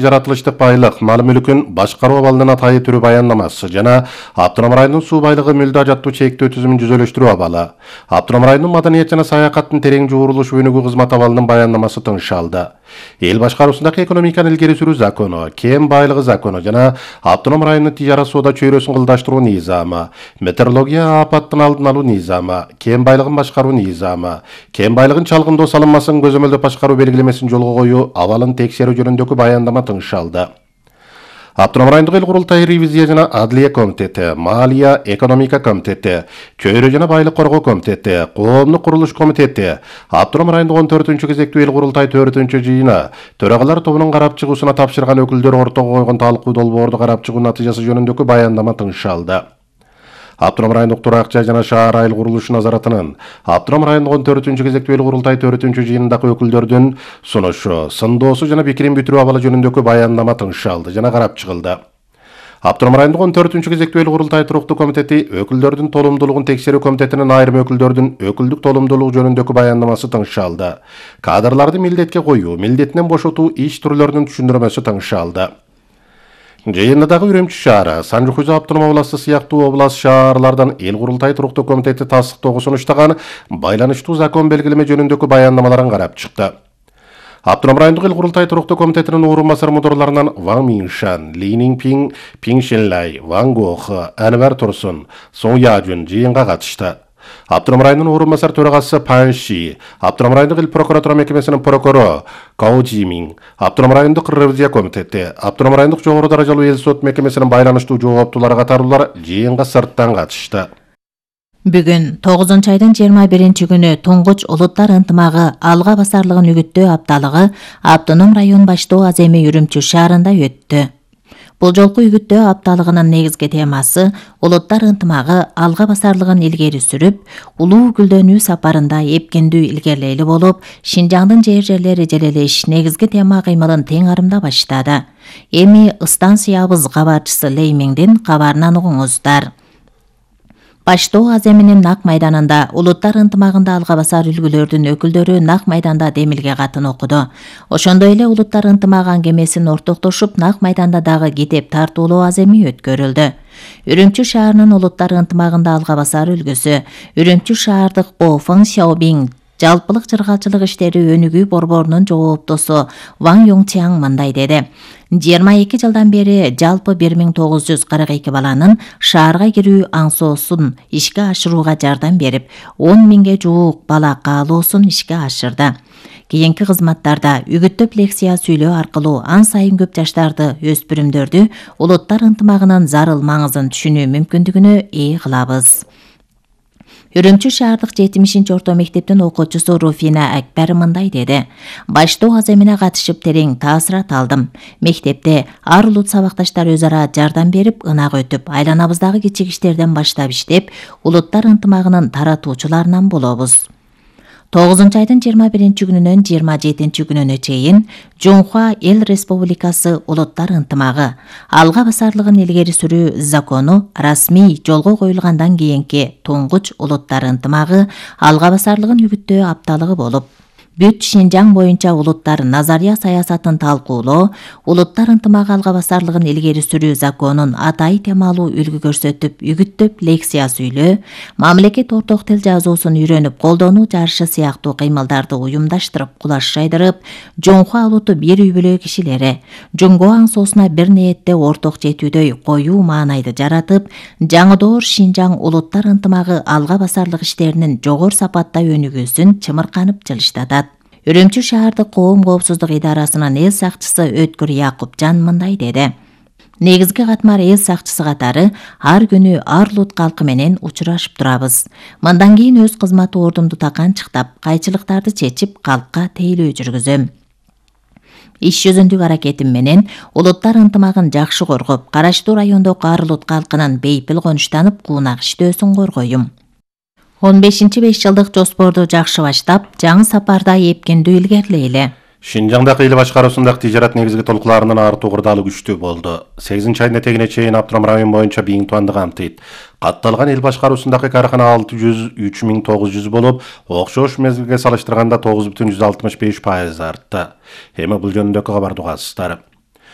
жаратылыштык байлык, мал-мүлкүн башкаруу абалынын атайы түрү баяндамасы жана Автоном районунун суу байлыгы мүлдө ажаттуу чектөө түзүмүн жүзөлөштүрүү абалы. Автоном районунун маданият жана саякаттын терең жуурулуш өнүгүү кызмат абалынын баяндамасы тыңшалды. Эл башкаруусундагы экономиканы илгери сүрүү закону, кен байлыгы закону жана Автоном районунун тижара соода чөйрөсүн кылдаштыруу низамы, метеорология апаттын алдын алуу низамы, кен байлыгын башкаруу низамы, кен байлыгын чалгындоо салынмасын көзөмөлдөп башкаруу белгилемесин жолго коюу абалын текшерүү жөнүндөгү баяндама тыңшалды. Автоном райондук эл курултай ревизия жана адлия комитети, малия экономика комитети, чөйрө жана байлык коргоо комитети, коомдук курулуш комитети, Автоном райондук 14-чү кезектүү эл курултай 4-чү жыйыны, төрагалар тобунун карап чыгуусуна тапшырган өкүлдөр ортого койгон талкуу долбоорду карап чыгуу натыйжасы жөнүндөгү баяндама тыңшалды. Автоном райондук турак жай жана шаар айыл курулушу назаратынын Автоном райондук 14-чү кезектүү эл курултай 4-чү жыйынындагы өкүлдөрдүн сунушу, сындоосу жана пикирин бүтүрүү абалы жөнүндөгү баяндама тыңшалды жана карап чыгылды. Автоном райондук 14-чү кезектүү эл курултай туруктуу комитети өкүлдөрдүн толумдуулугун текшерүү комитетинин айрым өкүлдөрдүн өкүлдүк толумдуулугу жөнүндөгү баяндамасы тыңшалды. Кадрларды милдетке коюу, милдетинен бошотуу иш түрлөрүнүн түшүндүрмөсү тыңшалды. Жыйында дагы Үрөмчү шаары, Санжы-Хуза автоном областы сыяктуу област шаарлардан эл курултай туруктуу комитети тастыктоого сунуштаган байланыштуу закон белгилеме жөнүндөгү баяндамаларын карап чыкты. Автоном райондук эл курултай туруктуу комитетинин орун басар мудурларынан Ван Миншан, Ли Нинпин, Пин Шенлай, Ван Гох, Анвар Турсун, Сон Яжун жыйынга катышты. Автоном районунун орун басар төрагасы Пан Ши, Автоном райондук эл прокуратура мекемесинин прокурору Као Жимин, Автоном райондук ревизия комитети, Автоном райондук жогору даражалуу эл сот мекемесинин байланыштуу жооптуулары катарлуулар жыйынга сырттан катышты. Бүгүн 9-айдын 21-күнү Туңгуч улуттар ынтымагы алга басарлыгын үгүттөө апталыгы Автоном район баштоо аземи Үрөмчү шаарында өттү. Бул жолку үгүттөө апталыгынын негизги темасы улуттар ынтымагы алга басарлыгын илгери сүрүп, улуу гүлдөнүү сапарында эпкендүү илгерлейли болуп, Шинжаңдын жер-жерлери желелеш негизги тема кыймылын тең арымда баштады. Эми станциябыз кабарчысы Леймиңдин кабарынан угуңуздар. Баштоо аземинин нак майданында улуттар ынтымагында алга басар үлгүлөрдүн өкүлдөрү нак майданда демилге катын окуду. Ошондой эле улуттар ынтымагы аңгемесин ортоктошуп нак майданда дагы китеп тартуулоо аземи өткөрүлдү. Үрөмчү шаарынын улуттар ынтымагында алга басар үлгүсү Үрөмчү шаардык О Фэн Сяобин жалпылык чыргалчылык иштери өнүгүү борборунун жооптосу Ван Йоңчиаң мындай деди. 22 жылдан бери жалпы 1942 баланын шаарга кирүү аңсоосун ишке ашырууга жардам берип, 10 миңге жуук бала каалоосун ишке ашырды. Кийинки кызматтарда үгүттөп лекция сүйлөө аркылуу ан сайын көп жаштарды, өспүрүмдөрдү улуттар ынтымагынын зарыл маңызын түшүнүү мүмкүндүгүнө ээ кылабыз. Үрөмчү шаардык 70-орто мектептин окуучусу Руфина Акбар мындай деди. Баштоо аземине катышып терең таасират алдым. Мектепте ар улут сабакташтар өз ара жардам берип, ынак өтүп, айланабыздагы кичик иштерден баштап иштеп, улуттар ынтымагынын таратуучуларынан болобуз. 9-айдын 21-күнүнөн 27-күнүнө чейин Жоңхуа эл республикасы улуттар ынтымагы алга басарлыгын илгери сүрүү закону расмий жолго коюлгандан кийинки Туңгуч улуттар ынтымагы алга басарлыгын үгүттөө апталыгы болуп, бүт Шинжаң боюнча улуттар назария саясатын талкуулоо, улуттар ынтымагы алга басарлыгын илгери сүрүү законун атай темалуу үлгү көрсөтүп, үгүттөп лекция сүйлөө, мамлекет орток тил жазуусун үйрөнүп колдонуу жарышы сыяктуу кыймылдарды уюмдаштырып, кулаш жайдырып, Жоңхуа улуту бир үй бүлө кишилери Жоңго аңсоосуна бир ниетте орток жетүүдөй коюу маанайды жаратып, жаңыдоор Шинжаң улуттар ынтымагы алга басарлык иштеринин жогору сапатта өнүгүүсүн чымырканып жылыштатат. Үрөмчү шаардык коом коопсуздук идарасынын эл сакчысы Өткүр Якупжан мындай деди. Негизги катмар эл сакчысы катары ар күнү ар улут калкы менен учурашып турабыз. Мындан кийин өз кызмат ордумду таканчыктап, кайчылыктарды чечип, калкка тейлөө жүргүзөм. Иш жүзүндүк аракетим менен улуттар ынтымагын жакшы коргоп, караштуу райондогу ар улут калкынын бейпил конуштанып, куунак иштөөсүн коргойм. 15-5 жылдык жоспорду жакшы баштап, жаңы сапарда эпкендүү илгерлейли. Шинжаңдагы эл башкаруусундагы тижарат негизги толкуларынын артуу кырдаалы күчтүү болду. 8-айдын этегине чейин Автоном район боюнча бийиң тубанды камтыйт. Катталган эл башкаруусундагы каркана 603.900 болуп, окшош мезгилге салыштырганда 9,65% артты. Эми бул жөнүндөгү кабарды угасыздар.